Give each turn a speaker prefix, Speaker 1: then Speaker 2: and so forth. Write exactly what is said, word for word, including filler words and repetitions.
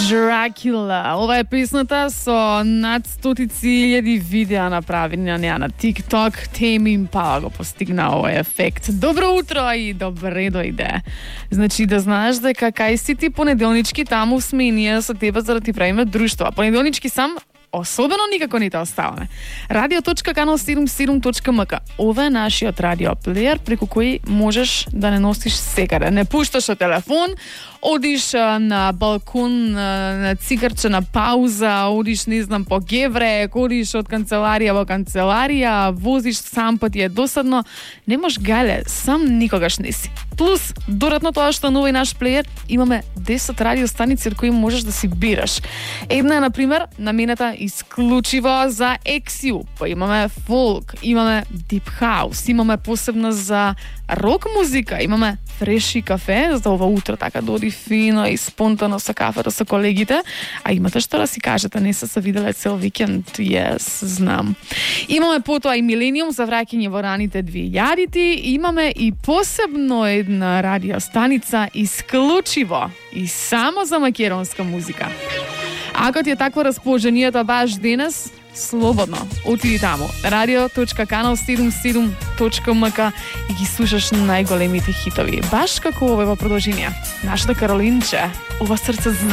Speaker 1: Dracula. Ова е песната со над стотици илјади видеа направени на неа на TikTok. Теми Импала го постигна овој ефект. Добро утро и добре дојде. Значи да знаеш дека кај си ти понеделнички таму сме и ние со тебе за да ти правиме друштво. Понеделнички сам особено никако не те оставаме. радио точка канал седумдесет и седум точка ем ка. Ова е нашиот радиоплеер преку кој можеш да не носиш секаде. Не пушташ од телефон, одиш на балкон, на цигарче, на пауза, одиш, не знам, по геврек, одиш од канцеларија во канцеларија, возиш сам па ти е досадно. Не можеш гале, сам никогаш не си. Плюс, доратно тоа што нови наш плеер, имаме десет радиостаници од кои можеш да си бираш. Една е, например, намената исклучиво за ексиу. Па имаме фолк, имаме дип хаус, имаме посебна за рок музика, имаме фреши кафе за ова утро, така да оди фино и спонтано со кафето со колегите. А имате што да си кажете, не се се виделе цел викенд? Yes, знам. Имаме потоа и Милениум за враќање во раните две илјадити, имаме и посебно една радиостаница исклучиво и само за македонска музика. Ако ти е такво расположението баш денес, слободно отиди таму. радио точка канал седумдесет и седум точка ем ка и ги слушаш најголемите хитови. Баш како ова во продолжение. Нашата Каролинче, ова срце зна.